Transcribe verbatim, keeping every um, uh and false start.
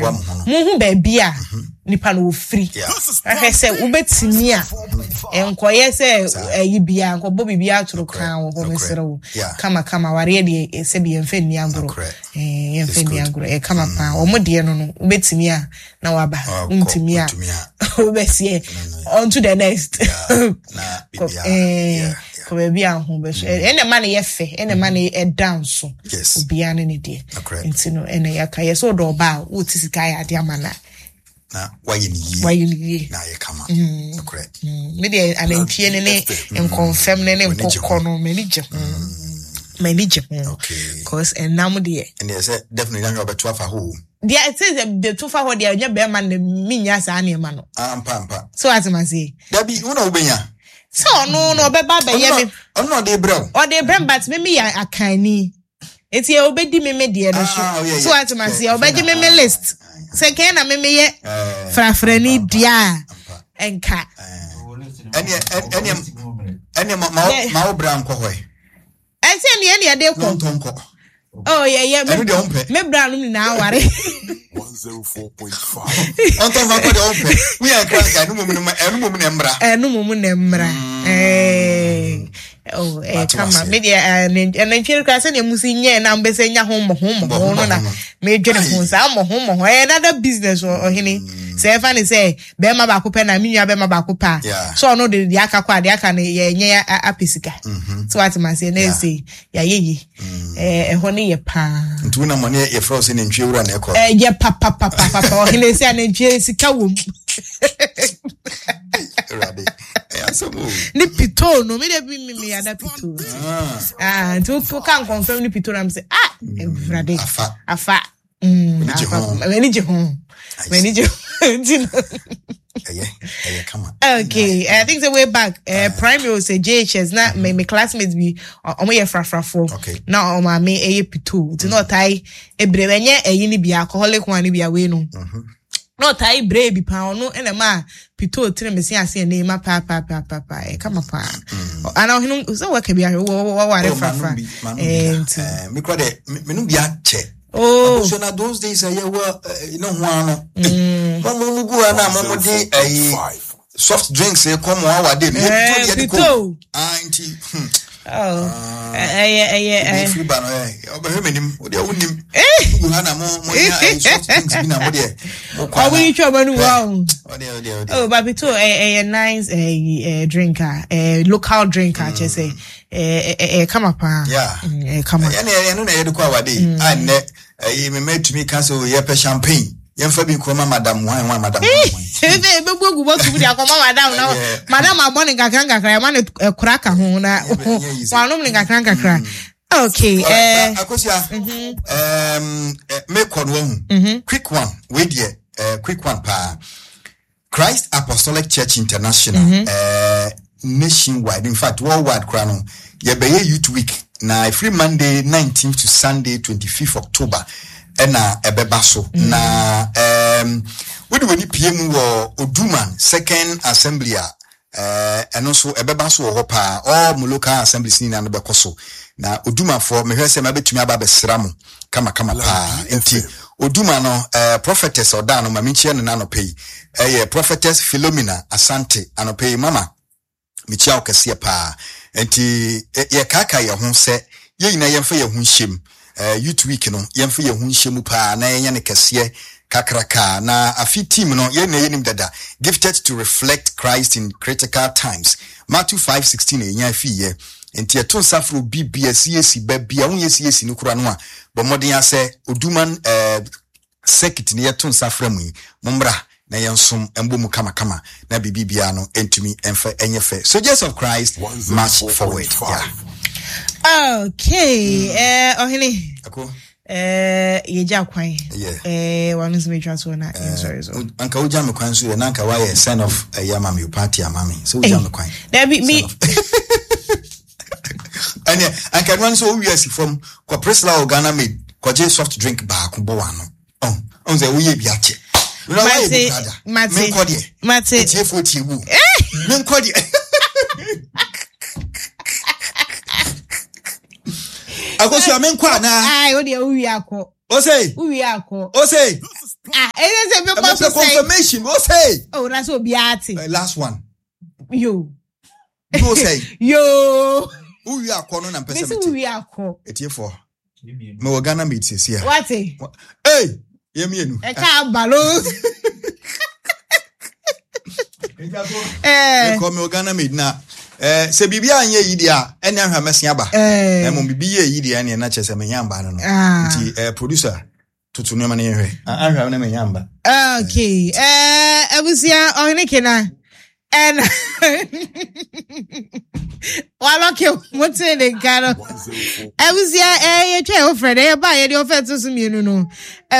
Moboa mo ho no. Mohu baabi a nipa no wɔfiri. Yeah. Ahwɛ sɛ wobɛtumi a nkɔyɛ sɛ ɛyi bia nkɔbɔ biribi atoro kan wɔ hɔ. Nokorɛ. Mesrɛ wo. Yeah. Kamakama awareɛ deɛ, eh, sɛbi yɛmfa nni agorɔ. Nokorɛ. Eh, yɛmfa It's nni good. agorɔ. Ɛyɛ kama paa. Ɔmo deɛ no no wobɛtumi a na waba. Ɔkɔ, Wontumi a wontumi a. wobɛseɛ on to the next. Na Kɔ- biribiara. eh, Yeah, yeah. Kɔ baabi a ho bɛso. Ɛna ma no yɛ fɛ, ɛna ma no ɛda nso. Yes. Obiara ne ne deɛ. Nokorɛ. Nti no ɛna yɛaka yɛ sɛ wodɔ ɔba a, wote sika ayɛ ade ama no a, Na wayɛ ne yie. Wayɛ no yie. Na ayɛ kama. Nokorɛ. Mm, me deɛ, anantwie ne ne nkɔmfɛm ne ne W'ani gye nkokɔ ho. no, m'ani gye ho, m'ani gye ho. Okay. Cause ɛnam deɛ, Ɛnneɛ sɛ definitely na wobɛto afa hɔ o. Deɛ ɛte sɛ de to fa hɔ deɛ, ɛnyɛ bɛrima no menya saa nneɛma no. Ah, mpa mpa. So ate ma se Dabi, wo na wobɛnya. Sɛ ɔno no ɔbɛba abɛyɛ me. Ɔno na ɔde brɛ wo. Ɔde brɛ m, but me meyɛ akanni, nti ɔbɛdi me me deɛ no so. Ah, oh, yeah, So yeah. ate ma se Yeah, ɔbɛgye me me ah, list sɛ kɛn na me meyɛ Eh, frafrani ampa, deɛ a ampa. ɛnka. Ɛneɛ ɛneɛ ɛneɛ ma ma wo- ma wo bra nkɔ hɔ yi. Ɛsɛ neɛ ne yɛde Na kɔ. ɔntɔ nkɔ. Oh, yɛ yɛ Ɛno deɛ wompɛ. Me bra no nyinaa ware. one oh four point five. Ɔntɔ mfa nkɔ deɛ wompɛ. Woyɛ nkra nka ɛno mmom no ma- ɛno mmom na mmra. Ɛno mo mu na mmra. Ɛɛ, oh, ɛɛ Mate kama wase. Me deɛ, ɛɛ, ɛnantwie no koraa, sɛdeɛ mu si nyɛɛ na mbɛsɛ nya ho mmɔho mmɔho no na Mmɔho. medwene ho saa mmɔho mmɔho. Ɛyɛ another business wɔ ɔhene sɛ ɛfa ne sɛ bɛrima baako pɛ na me nua bɛrima baako pɛ a, Yeah. sɛ ɔno de deɛ aka kɔ a, deɛ aka no yɛnyɛ apɛ sika so wate ma seɛ na ɛsɛ yɛayɛ yi. Ɛɛ, ɛhɔ no yɛ paa. Nti wonam ɔne yɛfrɛ wo sɛ nantwie wura na ɛkɔ. Ɛyɛ papapapapa, ɔhene, sɛ anantwie sika wɔ mu. Awurade, ɛyɛ asɛm o. Ne pitoo no, me de bi mi mi yada pitoo. Ah, Ah, nti woka nkɔmfɛm ne pitoo na m sɛ, ah, Awurade. Afa. Afa. Mm, M'ani gye afa. ho. M'ani gye ho, m'ani gye ho nti no. Ɛyɛ ɛyɛ kama. Okay, I think the way back, uh, primary sɛ J H S na me me classmates bi ɔ- ɔmo yɛ frafrafoɔ. Okay. Na ɔmo maame ɛyɛ pitoo, nti na ɔtae ebire, ɛnyɛ ɛyi ni bi, alcoholic one ni bi awei no, na ɔtae bere bi paa. Ɔno ɛna ma pitoo tene me se ase ɛna ema paa paa paa paa paa. Ɛyɛ kama paa. Ana ɔhene sɛ wɔka bi ahwɛ wɔ wɔware Oh, frafra. manom bi, manom bi ɛɛ da. Nti Eh, me kora dɛ me- menom bi akyɛ. Oh. Abusua na those days a yɛwɔ eh, ne ho ano mo mo mo gu ha na mo mo de ɛyi soft drinks kɔ mo awade no. Eh, yɛ de kɔ. pitoo. Ah, nti hmm, Oh, ɛyɛ ɛyɛ ɛyɛ firi ba no ɛ ɔbɛhwɛ m'anim, wo deɛ wonim gu ha na mo mo nya ɛyi soft drinks bi na mo deɛ mo kɔ. Ɔmo yi twɛ ɔmo anum wa o. Ɔdeɛ ɔdeɛ ɔdeɛ. Oh, but pitoo ɛyɛ ɛyɛ nice ɛyɛ ɛɛ drink a ɛɛ local drink a kyerɛ sɛ ɛɛ ɛɛ ɛyɛ kama paa. Yeah. Mm, ɛyɛ kama. Ɛne ɛno na yɛde kɔ awade yi a nnɛ ɛyi mema tumi ka sɛ o, yɛpɛ champagne, yɛmfa bi nkɔma madam wan wan, madam wan wan. Ebe ebebu egu bɔtɔ mu de akɔma madam na Yeah. madam abɔ ne nkakra nkakra, ɛma ne ɛkora ka ho na Ɛnyɛ- ɛnyɛ easy. wanom ne nkakra nkakra. Okay. Alright, ɛɛ Akosua, um, eh, mekɔ no wahu quick one wei deɛ, eh, quick one paa. Christ Apostolic Church International, eh, nationwide, in fact worldwide koraa no, yɛbɛyɛ Youth Week na ɛfiri Monday nineteenth to Sunday twenty-fifth October ɛna ɛbɛba so. Na um, wode w'ani pie mu wɔ Oduman Second Assembly a, eh, ɛno nso ɛbɛba so wɔ hɔ paa. All mo local assemblies nyinaa no bɛkɔ so na Odumafoɔ, mehwɛ sɛ mabɛtumi aba abɛsra mo kamakama paa. Nti Oduma no, eh, prophetess ɔda no ma menkyia no n'anɔpɛ yi, ɛyɛ Prophetess Philomena Asante. Anɔpɛ yi, mama, mekyia wo kɛseɛ paa. Nti ɛ- yɛkaaka yɛn ho sɛ yɛn nyinaa yɛmfa yɛn ho nhyɛm. uh, youth Week no, yɛmfa yɛn ho nhyɛ mu paa na yɛnyɛ no kɛseɛ kakraka. Na afi team no, yɛn na yɛnim dada, "Gifted to reflect Christ in critical times", Matthew five sixteen na yɛnya afiyɛ. Nti yɛto nsa frɛ obi bia C A C ba bia wonyɛ C A C no kora no a, bɔ mmɔden asɛ Oduman uh, circuit ne yɛto nsa frɛ mu yi, mommra na yɛnsom mbɔ mu kamakama na biribi biara no ntumi ɛmfa ɛnyɛ fɛ. Soldiers of Christ, march forward, yeah. Okay, ɛɛ ɔhene. Ako. Ɛɛ yɛgya kwan. Yeah. Ɛɛ wano nso metwa soɔ na yɛnsɔre so. Anka wogya me kwan so yɛ na anka woayɛ send off ɛyɛ ama me o, party ama me sɛ wogya me kwan. Dabi, mi Ɛneɛ anka ɛnoa no sɛ wowie asi fam kɔ Priscilla wɔ Ghana Made kɔgye soft drink baako bɔ wano ɔn ɔn sɛ woyɛ bi akyɛ. Na woayɛ bi Mate, brada. mate, Menkɔ deɛ. Mate. Etiefoɔ tie wu, menkɔ deɛ. Akosua, menkɔ anaa? Ayi, o deɛ, wowie akɔ. Ose. Wowie akɔ. Ose. Ah, ɛyɛ sɛ mebɔ so Ɛmɛpɛ sɛ confirmation o say. Oh, na sɛ obiara te. Uh, last one. Yo. No say. Yo. Wowie akɔ no na mpɛ sɛ mesi mete. Wowie akɔ. Etiefoɔ, mewɔ Ghana Made sesi a. Wate. Ei, yɛ mmienu. Ɛka aba no. Eh, mekɔ, mewɔ Ghana Made na eh, sɛ biribi anyɛ yi deɛ a, ɛne ahwɛ a mɛsen aba. Eh, na mmom biribi yɛ yi deɛ, ɛneɛ na kyerɛ sɛ menya mba no no Ah. Nti eh, producer, toto nneɛma no yɛhwɛ. Ah, ahwɛ a na menya mba. Okay. Eh, abusua, ɔhene kena ɛna walɔke mote ne nka no. Abusua, eh, yɛtwa ɛwo frɛ dɛ yɛba a yɛde ɔfɛ to so mmienu no.